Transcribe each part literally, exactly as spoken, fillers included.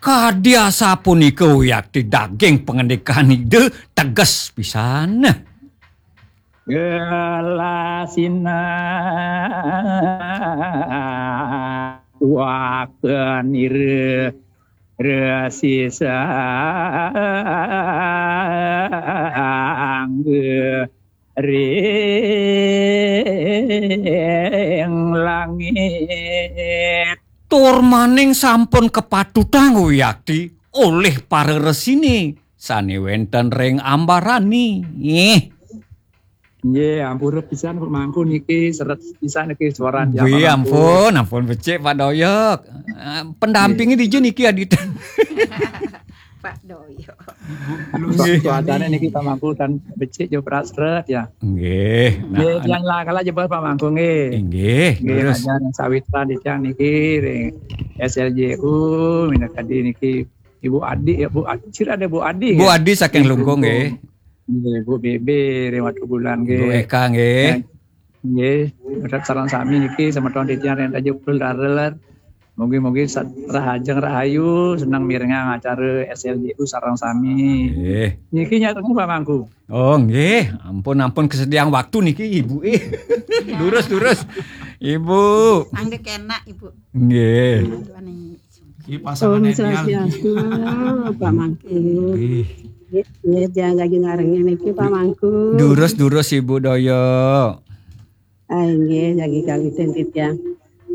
Kadi asapunika wiakti daging pangandikan Ida teges pisan. Gelasina wakenira resisang ring langit. Tur maning sampun kapatutang wiakti olih para resini sane wenten ring ambarani. Nggih. Nggih, ampura pisan Pak Mangku niki, seret pisan niki suaran Pak Mangku. Nggih, ampun, ampun becik Pak Doyok. Eh, pendampingi dija niki, Adit? Pak Doyok. Nggih. Cuacane niki Pak Mangku tan becik jo prak seret ya. Nggih. Nggih, nah, tiang lah kala jebos Pak Mangku nggih. Nggih, nggih, terus. Ngajar sawitan di tiang niki ring S L J U, minakadi niki Ibu Adi ya, Bu Adi, sira ada Bu Adi Bu ya? Adi saking Lungkung, nggih. Nggih, Bu B B ring Watu Bulan nggih. Bu Eka nggih. Nggih, sareng sami niki semeton titiang ring Tanjung Pul Dareler. Mugi-mugi sat-, rahajeng rahayu, seneng mirengang acara S L J U sareng sami. Nggih. Niki nyarengin Pak Mangku. Oh, nggih. Ampun, ampun kesediaan waktu niki, Ibu. Eh. Durus, durus. Ibu. Angge kena, Ibu. Nggih. Aduh, aneh. Iki pasangan Om ideal iki. Swastiastu, Pak Mangku. Nggih. Nggih, nggih, jangan lagi ngarengin niki, Pak Mangku. Durus, durus, Ibu Doyo. Ah, nggih, jagi kawitin titiang.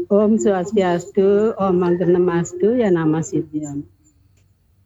Om Swastiastu, Om Mangkenemastu, ya nama Sidion.